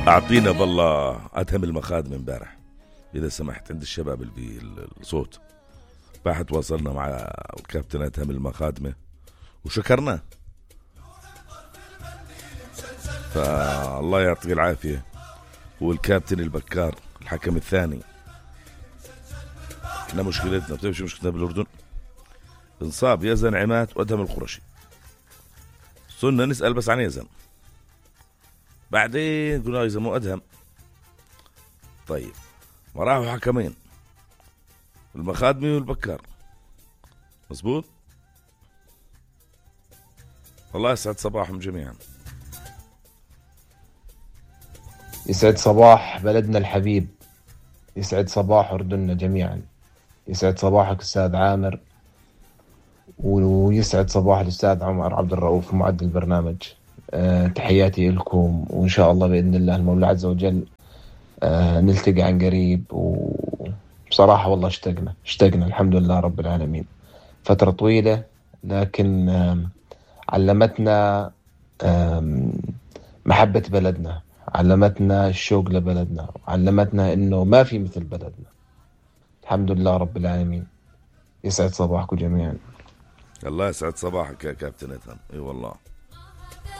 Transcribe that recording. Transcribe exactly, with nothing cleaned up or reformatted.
أعطينا بالله أتهم المخادم امبارح إذا سمحت عند الشباب اللي بالصوت. باحت وصلنا مع الكابتن أتهم المخادمة وشكرناه، فالله يعطيه العافية. هو الكابتن البكار الحكم الثاني. احنا مشكلتنا بتعرف شو مشكلتنا بالأردن؟ انصاب يزن عماد وأدهم القرشي، صرنا نسأل بس عن يزن، بعدين قلنا يزن مو أدهم. طيب ما راحوا حكمين المخادمي والبكار، مظبوط. الله يسعد صباحهم جميعا. يسعد صباح بلدنا الحبيب، يسعد صباح أردننا جميعا، يسعد صباحك أستاذ عامر، ويسعد صباح الأستاذ عمر عبد الرؤوف معد البرنامج. أه تحياتي لكم، وإن شاء الله بإذن الله المولى عز وجل أه نلتقي عن قريب. وبصراحة والله اشتقنا اشتقنا الحمد لله رب العالمين، فترة طويلة لكن أه علمتنا أه محبة بلدنا، علمتنا الشوق لبلدنا، علمتنا إنه ما في مثل بلدنا. الحمد لله رب العالمين. يسعد صباحكم جميعا. الله يسعد صباحك يا كابتن أتهم. اي والله.